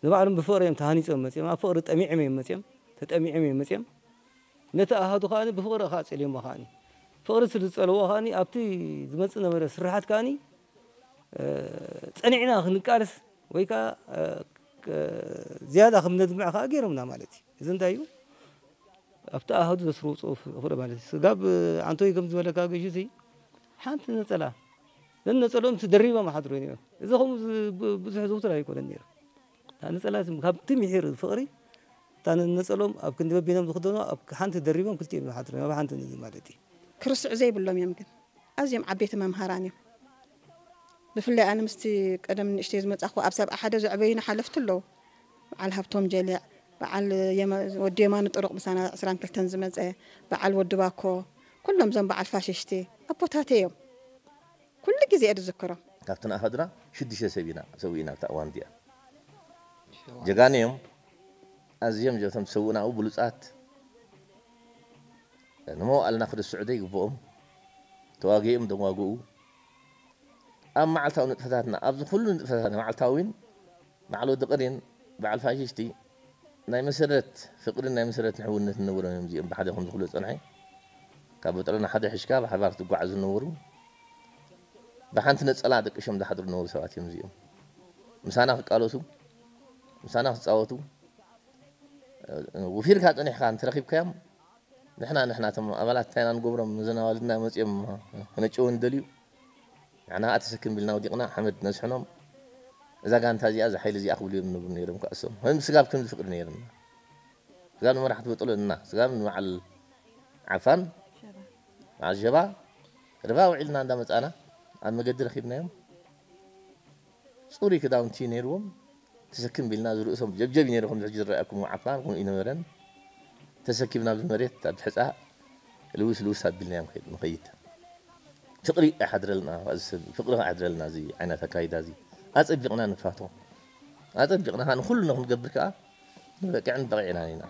ንባዕሎም ብፍቕሪ እዮም ተሃኒጾም መጺኦም፣ ኣብ ፍቕሪ ጠሚዖም እዮም መጺኦም፣ ተጠሚዖም እዮም መጺኦም። ነቲ ኣሃዱ ከኣ ብፍቕሪ ከኣ ጸልዮሞ ከኣ፣ ፍቕሪ ስለ ዝጸልዎ ከኣ ኣብቲ ዝመጽእ ነበረ ስርሓት ከኣ ጸኒዕና ክንቃለስ ወይ ከኣ ዝያዳ ከም ነድምዕ ከኣ ገይሮምና ማለት እዩ። እዚ እንታይ እዩ? ኣብቲ ኣሃዱ ዘስርውፅኡ ፍቕሪ ማለት እዩ። ስጋብ ዓንቶይ ከም ዝበለካ ገዥ እዚ ሓንቲ ነፀላ ነነፀሎም ደሪቦም ሓድሩ ነይሮም። እዚ ከምኡ ብዙሕ ዝውትር ኣይኮነን ነይሩ። ነፀላ ካብቲ ምሒር ፍቕሪ እታ ነነፀሎም ኣብ ክንዲ በቢኖም ዝኽደኑ ኣብ ሓንቲ ደሪቦም ክልቲኦም ሓድሩ ኣብ ሓንቲ ነዚ ማለት እዩ። ክርስዕ ዘይብሎም እዮም ግን ኣዝዮም ዓበይቲ መምሃራን እዮም። ብፍላይ ኣነ ምስቲ ቀደም ንእሽተይ ዝመጻኹ ኣብ ሰብዓ ሓደ ዘዕበዩና ሓለፍቲ ኣለዉ። በዓል ሃብቶም ጀሊዕ፣ በዓል ወዲ የማኑ ጥሩቕ ምሳና ዕስራን ክልተን ዝመጸ፣ በዓል ወዲ ባኮ፣ ኩሎም እዞም በዓል ፋሽሽቲ ኣቦታተይ እዮም። ኩሉ ግዜ እየ ዝዝክሮም። ካብቲ ንኣኸድና ሽዱሽተ ሰብ ኢና ሰዊእና ኣብታ እዋን እቲኣ። ጀጋኑ እዮም። ኣዝዮም እቶም ዝሰውእና ኣብኡ ብሉጻት ንመዋእልና ክርስዑ ዘይግብኦም ተዋጊኦም ደዋግኡ ኣብ መዓልታዊ ንጥፈታትና ኣብዚ ኩሉ ንጥፈታት መዓልታዊን በዓል ወዲ ቅሪን በዓል ፋሽሽቲ ናይ መሰረት ፍቅርን ናይ መሰረት ንሕውነት ንነብሮም እዮም እዚኦም ብሓደ ከም ዝኽሉ ዝፀንሐ ካብ በጥረና ሓደ ሕሽካ ብሓባር ትጓዓዙ ዝነበሩ ብሓንቲ ነፀላ ደቅሾም ዝሓድሩ ዝነበሩ ሰባት እዮም እዚኦም ምሳና ክቃለሱ ምሳና ክፃወቱ ውፊርካ ፀኒሕካ እንተረኪብካዮም ንሕና ንሕና እቶም ኣባላት እንታይ ኢና ንገብሮም ነዘን ኣዋልድና መፂኦም ክነጨውን ደልዩ ንሕና ከዓ ተሰክም ቢልና ወዲቕና ሓመድ ነስሕኖም እዛ ጋንታ እዚኣ እዛ ሓይሊ እዚኣ ክብሉ እዮም ንብሉ ነይሮም ከዓ እሶም ከም ስጋብ ከምዚ ፍቅሪ ነይርና ስጋብ ንመራሕቲ በጥሎ እና ስጋብ ንበዓል ዓፋን በዓል ሸባ ርባ ውዒልና እንዳመፃና ኣብ መገዲ ረኪብናዮም ፅሩይ ክዳውንቲ ነይርዎም ተሰክም ቢልና ዝርእሶም ጀብጀብ ነይሩ ከምዚ ሕጂ ዝረኣኩም ዓፋን ከምኡ ይነበረን ተሰኪብና ብመሬት ኣብ ሕፃ ልውስ ልውስ ኣቢልናዮም ንኸይድ ፍቅሪ ኣይሓድረልና ፍቅሪ ኣይሓድረልና እዚ ዓይነት ኣካይዳ እዚ ኣፀቢቕና ንፋቶ ኣፀቢቕና ንኩሉ ክንገብር ከዓ ንበቅዕን በቂዕና ኢና